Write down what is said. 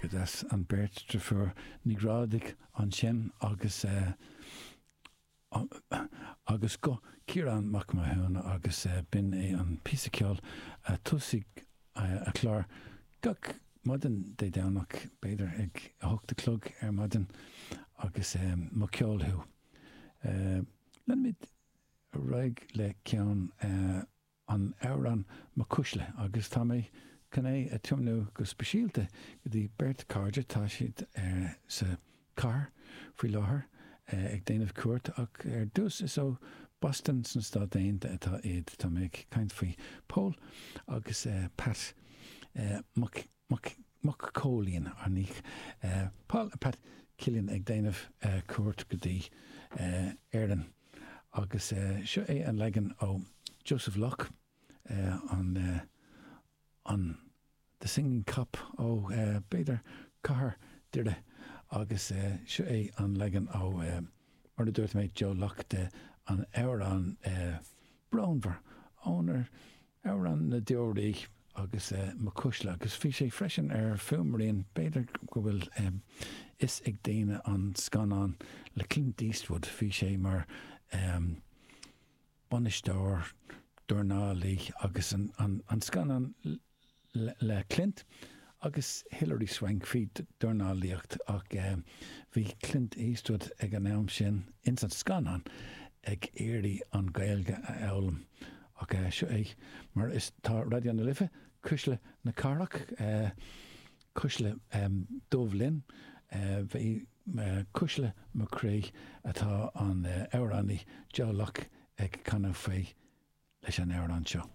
Go deas an beirt deirfiúr Ní Ghrádaigh ansin agus agus guth Ciarán Mac Mathúna agus b'in é an píosa ceoil a tosaigh a chlár gach maidin Dé Domhnach, b'fhéidir ag 8 a chlog ar maidin agus Mo Cheol Thú. Leanfaimid ar aghaidh le ceann an amhrán Mo Cuisle agus tá mé chun é a tiomnú go speisialta go dtí beirt cairde, tá siad sa chathair faoi láthair ag déanamh cuairt ach ar dtús is ó Boston sna Stáit Aontaithe atá iad. Tá mé ag caint faoi Pól agus Pat Mac Mac Mac Cóilín, ar ndóigh. Paul and Pat Killian ag déanamh cuairt go dtí Éirinn. Agus seo é an leagan ó Joseph Locke, an an The Singing Cop ó b'fhéidir cathair Doire agus seo é an leagan ó mar a dúirt mé Joe Locke de an amhrán brónmhar ónar Amhrán na Deoraí agus Mo Cuisle agus bhí sé freisin ar Fuaimrian, b'fhéidir go bhfuil fhios ag daoine an scannán le Clint Eastwood, bhí sé mar bainisteoir dornálaí agus an scannán le Clint agus Hilary Swank faoi dornálaíocht ach bhí Clint Eastwood ag an am sin ins an scannán ag iarraidh an Ghaeilge a fhoghlaim ach seo é mar is tá Raidió na Life, Cuisle na Cathrach, Cuisle Dubh Linn, bhí Cuisle mo chroí atá an amhránaí Joe Locke ag canadh faoi leis an amhrán seo.